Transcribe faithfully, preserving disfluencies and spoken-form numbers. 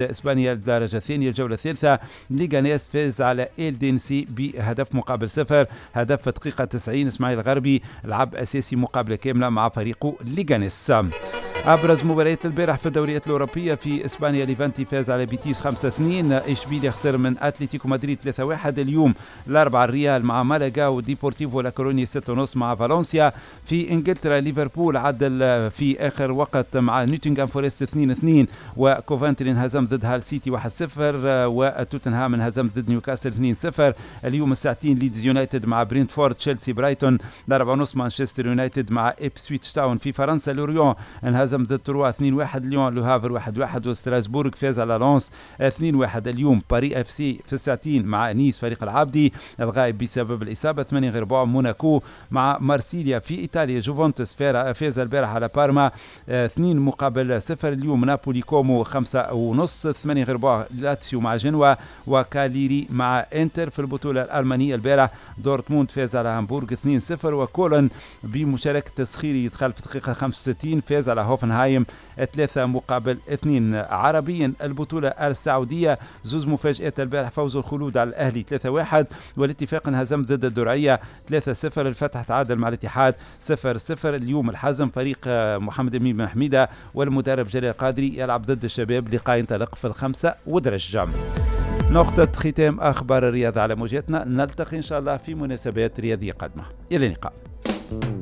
اسبانيا الدرجة الثانيه، الجولة الثالثه، ليغانيس فاز على إلدينسي بهدف مقابل صفر، هدف في دقيقة تسعين. اسماعيل الغربي لعب اساسي مقابله كاملة مع فريقه ليغانيس. ابرز مباريات البارح في الدوريات الاوروبيه: في اسبانيا، ليفانتي فاز على بيتيس خمسة اثنين، اشبيليا خسر من اتلتيكو مدريد ثلاثة واحد. اليوم الاربعاء، الريال مع مالاغا وديبورتيفو لاكورونيا ستة ونص مع فالنسيا. في انجلترا، ليفربول عدل في اخر وقت مع نوتنغهام فورست اثنين اثنين، وكوفنتري انهزم ضد هال سيتي واحد صفر، وتوتنهام انهزم ضد نيوكاسل اثنين صفر. اليوم الساعتين، ليدز يونايتد مع برينتفورد، تشيلسي برايتون. الأربعة ونص، مانشستر يونايتد مع إبسويتش تاون. في فرنسا، لوريون انهزم ضد تروا اثنين واحد، ليون لوهافر واحد واحد، وستراسبورغ فاز على لونس اثنين واحد. اليوم باري اف سي في الساعتين مع نيس، فريق العابدي الغائب بسبب الإصابة. ثمانية غير ربع، موناكو مع مارسيليا. في إيطاليا، جوفنتوس فاز البارح على بارما اثنين مقابل صفر. اليوم نابولي كومو خمسة ونص. ثمانية غير ربع، لاتسيو مع جنوا وكاليري مع انتر. في البطولة الألمانية، البارح دورتموند فاز على هامبورغ اثنين صفر، وكولن بمشاركة السخيري يدخل في دقيقة خمسة وستين فاز على هوفنهايم ثلاثة مقابل اثنين. عربيا، البطولة السعودية، زوز مفاجآت البارح: فوز الخلود على الأهلي ثلاثة واحد، والاتفاق انهزم ضد الدرعية ثلاثة صفر. الفتح تعادل مع الاتحاد صفر صفر. اليوم الحزم، فريق محمد أمين بن حميدة والمدرب جلال قادري، يلعب ضد الشباب، لقاء ينطلق في الخمسة ودرج. نقطة ختام أخبار الرياضة على موجاتنا، نلتقي إن شاء الله في مناسبات رياضية قادمة. إلى اللقاء.